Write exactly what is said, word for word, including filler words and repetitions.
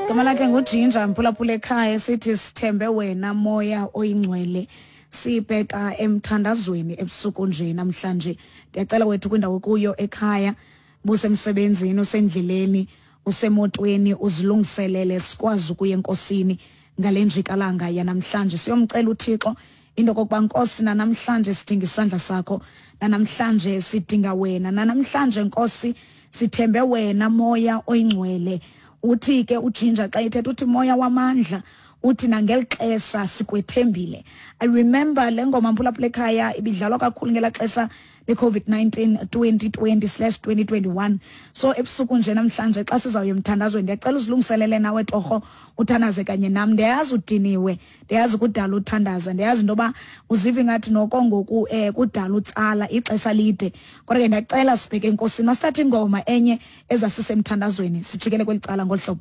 Igama lakhe nguJinja, mphulaphula ekhaya. Sithi sithembe wena, moya oyingcwele. Sibheka emthandazweni ebusuku nje namhlanje. Ndiyacela wethu, kwindawo kuyo ekhaya, busemsebenzini, usendleleni, usemotweni, uzilungiselele sikwazi ukuya enkosini ngale njikalanga yanamhlanje. Siyomcela uThixo into kokuba, Nkosi, nanamhlanje sidinga isandla sakho, nanamhlanje sidinga wena, nanamhlanje, Nkosi, sithembe wena, moya oyingcwele. Uthi ke uJinja xa ethetha, uthi moya wamandla, uthi nangeli xesha sikwethembile. I remember le ngoma, mphulaphula ekhaya, ibidlalwa kakhulu ngelaa xesha le-COVID nineteen, twenty twenty slash twenty twenty-one. So ebusuku nje namhlanje xa sizawuya emthandazweni, ndiyacela uzilungiselele nawe torho, uthandaze kanye nam. Ndiyayazi udiniwe, ndiyazi kudala uthandaza, ndiyazi into yoba uziva ingathi noko ngoku um kudala utsala ixesha lide, kodwa ke ndiyacela sibheke enkosini. Masithathe ingoma enye ezasisemthandazweni, sijikele kweli cala ngolu hlobo.